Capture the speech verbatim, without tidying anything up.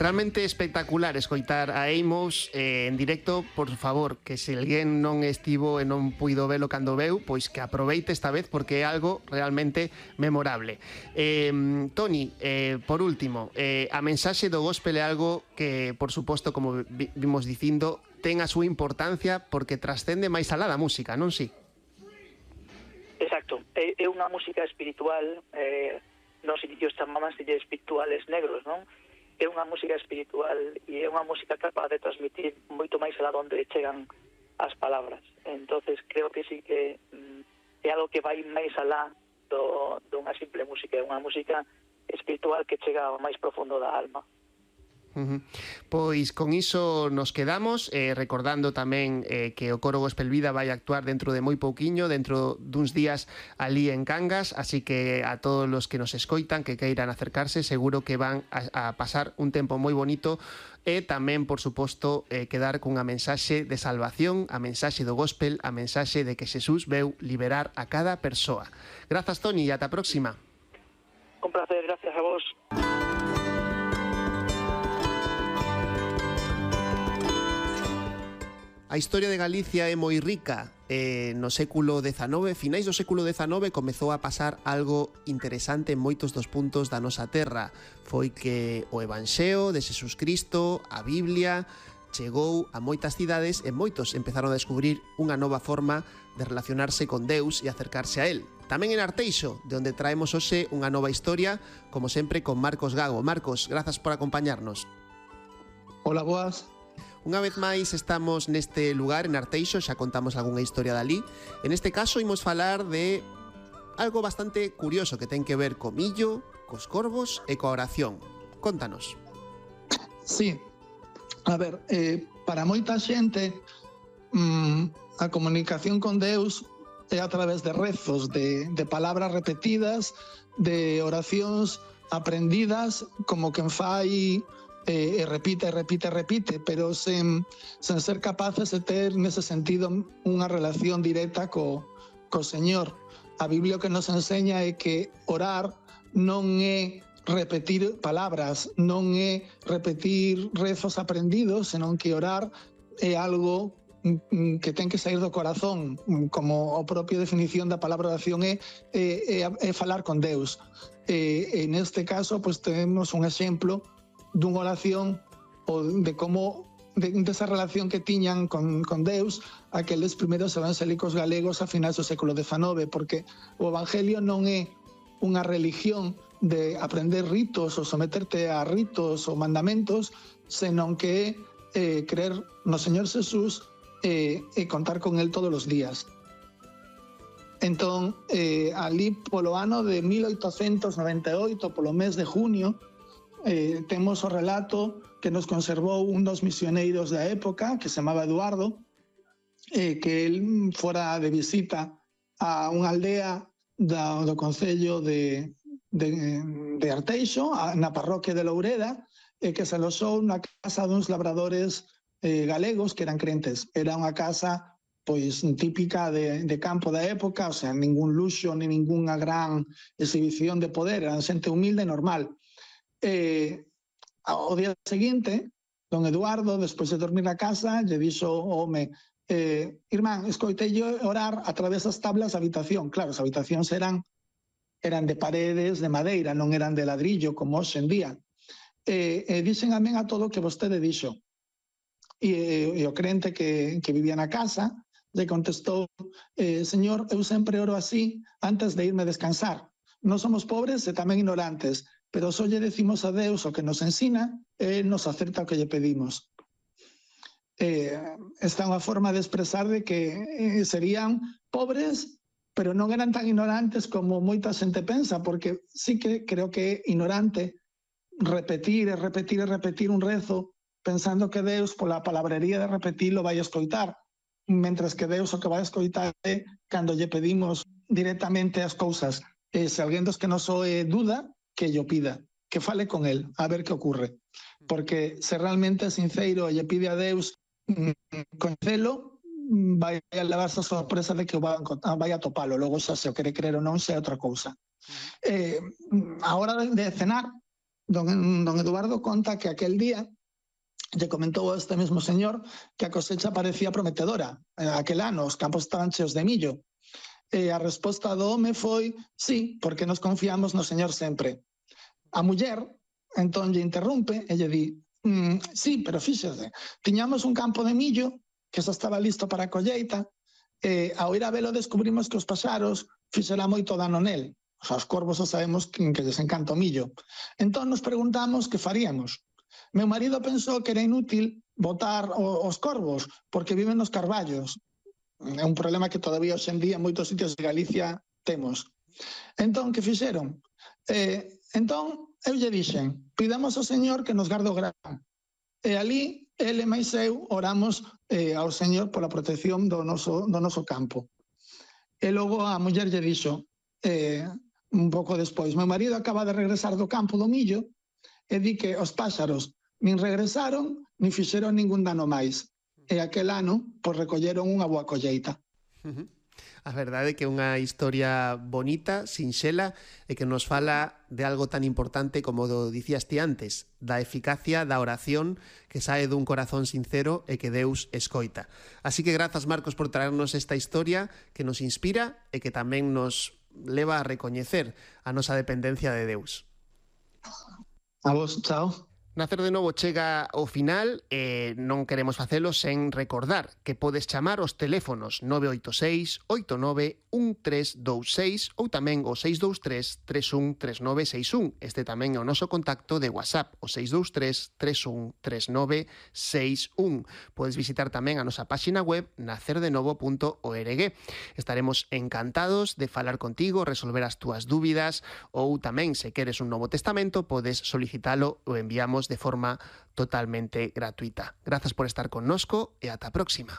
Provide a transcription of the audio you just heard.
Realmente espectacular escoitar a Amos eh, en directo. Por favor, que se alguén non estivo e non puido velo cando veu, pois que aproveite esta vez porque é algo realmente memorable. Eh, Toni, eh, por último, eh, a mensaxe do gospel é algo que, por suposto, como vi, vimos dicindo, ten a súa importancia porque trascende máis alá da música, non si? Exacto, é, é unha música espiritual, eh, nos inicios chamábanse espirituales negros, non? É unha música espiritual e é unha música capaz de transmitir moito máis alá onde chegan as palabras. Entonces creo que sí que mm, é algo que vai máis alá do, dunha simple música, é unha música espiritual que chega ao máis profundo da alma. Uh-huh. Pois con iso nos quedamos, eh, recordando tamén eh, que o Coro Gospel Vida vai actuar dentro de moi pouquiño, dentro duns días ali en Cangas, así que a todos os que nos escoitan, que queiran acercarse, seguro que van a, a pasar un tempo moi bonito e tamén, por suposto, eh, quedar cunha mensaxe de salvación, a mensaxe do gospel, a mensaxe de que Xesús veu liberar a cada persoa. Grazas, Toni, e ata a próxima. Un placer, gracias a vos. A historia de Galicia é moi rica. Eh, no século dezanove, finais do século dezanove, comezou a pasar algo interesante en moitos dos puntos da nosa terra. Foi que o Evanxeo de Xesús Cristo, a Biblia, chegou a moitas cidades e moitos empezaron a descubrir unha nova forma de relacionarse con Deus e acercarse a Él. Tamén en Arteixo, de onde traemos hoxe unha nova historia, como sempre con Marcos Gago. Marcos, grazas por acompañarnos. Hola, boas. Unha vez máis estamos neste lugar, en Arteixo, xa contamos algunha historia dali. En este caso imos falar de algo bastante curioso que ten que ver co millo, cos corvos e coa oración. Contanos. Sí, a ver, eh, para moita xente mmm, a comunicación con Deus é a través de rezos, de, de palabras repetidas, de oracións aprendidas, como quen fai... Eh, e repite, repite, repite, pero sen, sen ser capaces de ter nese sentido unha relación directa co, co Señor. A Biblia que nos enseña é que orar non é repetir palabras, non é repetir rezos aprendidos, senón que orar é algo que ten que sair do corazón, como a propia definición da palabra oración é, é, é falar con Deus. E, en este caso, pues, temos un exemplo dunha oración ou de como de, de esa relación que tiñan con, con Deus aqueles primeiros evangélicos galegos a finais do século dezanove, porque o evangelio non é unha religión de aprender ritos ou someterte a ritos ou mandamentos, senón que é eh, creer no Señor Xesús eh, e contar con Él todos os días. Entón, eh, ali polo ano de mil oitocentos noventa e oito, polo mes de junio, Eh, temos o relato que nos conservou un dos misioneiros da época, que se chamaba Eduardo, eh, que el fora de visita a unha aldea da, do concello de, de, de Arteixo, a, na parroquia de Loureda, e eh, que se alosou na casa duns labradores eh, galegos que eran crentes. Era unha casa pois típica de, de campo da época, o sea, ningún luxo, ni ninguna gran exhibición de poder, eran xente humilde e normal. Eh, ao día seguinte, don Eduardo, despois de dormir na casa, lle dixo ao home, eh, irmán, escoitei orar a través das tablas da habitación. Claro, as habitacións eran, eran de paredes de madeira, non eran de ladrillo, como hoxe en día. E, e dixen amén a todo o que vostede dixo. E, e o crente que, que vivía na casa lle contestou, eh, señor, eu sempre oro así antes de irme a descansar. Non somos pobres e tamén ignorantes, pero só lle decimos a Deus o que nos ensina e nos acerta o que lle pedimos. Eh, esta é unha forma de expresar de que eh, serían pobres, pero non eran tan ignorantes como moita xente pensa, porque sí que creo que é ignorante repetir e repetir e repetir un rezo pensando que Deus, pola palabrería de repetirlo, vai a escoitar, mentras que Deus o que vai a escoitar é cando lle pedimos directamente as cousas. E se alguén dos que nos oe duda, que yo pida, que fale con él, a ver que ocurre. Porque se realmente é sincero e lle pide a Deus coñecelo, vai a levarse a sorpresa de que vai a topalo. Logo xa se o quere creer ou non, xa é outra cousa. Eh, a hora de cenar, Don, don Eduardo conta que aquel día lle comentou a este mesmo señor que a cosecha parecía prometedora. Aquel ano os campos estaban cheos de millo. E a resposta do home foi sí, porque nos confiamos no señor sempre. A muller entón lle interrompe e lle di mm, sí, pero fíxese, tiñamos un campo de millo que xa estaba listo para a colleita e ao ir a velo descubrimos que os paxaros fixera moito dano nel. O sea, os corvos xa sabemos que, que lles encanta o millo. Entón nos preguntamos que faríamos. Meu marido pensou que era inútil botar os corvos porque viven nos carballos. É un problema que todavía hoxe en día en moitos sitios de Galicia temos. Entón, que fixeron? Eh, entón, eu lle dixen, pidamos ao Señor que nos garde o gran. E ali, ele máis eu oramos eh, ao Señor pola protección do noso, do noso campo. E logo a muller lle dixo, eh, un pouco despois, meu marido acaba de regresar do campo do millo e di que os páxaros nin regresaron nin fixeron ningún dano máis. E aquel ano, pois recolleron unha boa colleita. Uh-huh. A verdade é que é unha historia bonita, sinxela, e que nos fala de algo tan importante como do dicías ti antes, da eficacia da oración que sae dun corazón sincero e que Deus escoita. Así que grazas, Marcos, por traernos esta historia que nos inspira e que tamén nos leva a recoñecer a nosa dependencia de Deus. A vos, chao. Nacer de Novo chega ao final e non queremos facelo sen recordar que podes chamar os teléfonos nove oito seis, oito nove, un tres dous seis ou tamén o seis dous tres, tres un tres nove seis un. Este tamén é o noso contacto de WhatsApp, o seis dous tres, tres un tres nove seis un. Podes visitar tamén a nosa páxina web nacer de novo punto org. Estaremos encantados de falar contigo, resolver as túas dúbidas ou tamén, se queres un Novo Testamento, podes solicitalo ou enviamos de forma totalmente gratuita. Grazas por estar connosco e ata a próxima.